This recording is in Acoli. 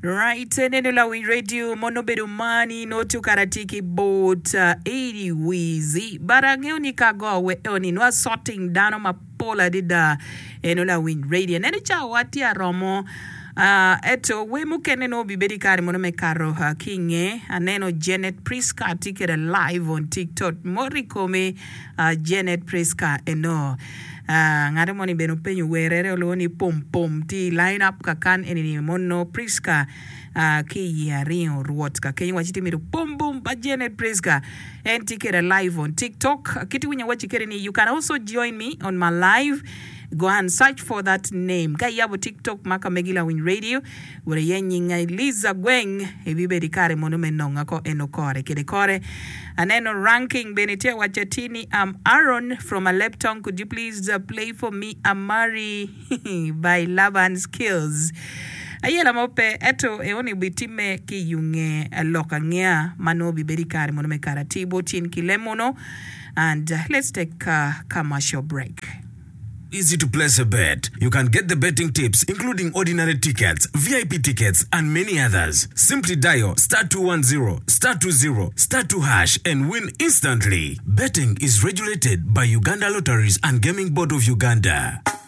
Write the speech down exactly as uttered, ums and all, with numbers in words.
Right, neno lawiny radio mono bedo mani noto karati ki bot uh, eighty wizi. But ang'eyo ni ka go we oni nwa sorting dano mapol adada eno lawiny radio. Neno cha wati aromo uh, eto we mukene no bibedi kare mono me karo uh, kinge aneno Janet Priska tye kede live on TikTok mori kome uh, Janet Priska eno. Uh, ng'ato moni bene openyo werere oluwo ni pom pom ti line up kakan enini mono Priska uh, ki i aringo rwot ka kenyo waci ti mito pom pom pa Janet Priska en tye kede live on TikTok kiti winyo waci kede ni you can also join me on my live. Go and search for that name ka iyabo TikTok ma ka megi lawiny radio wore ye nyinga Eliza Gweng ibibedi kare mono me nonga ko eno kore kede kore aneno ranking bene tye wacho ti ni I'm Aaron from Aleptong. Could you please uh, play for me Amari by Laban Skills? Ayela mo pe eto eoni bitime ki yunge lok ang'ea mano bibedi kare mono me karati botin kilemono and uh, let's take a commercial break. Easy to place a bet. You can get the betting tips, including ordinary tickets, V I P tickets, and many others. Simply dial star two one zero star two zero star two hash and win instantly. Betting is regulated by Uganda Lotteries and Gaming Board of Uganda.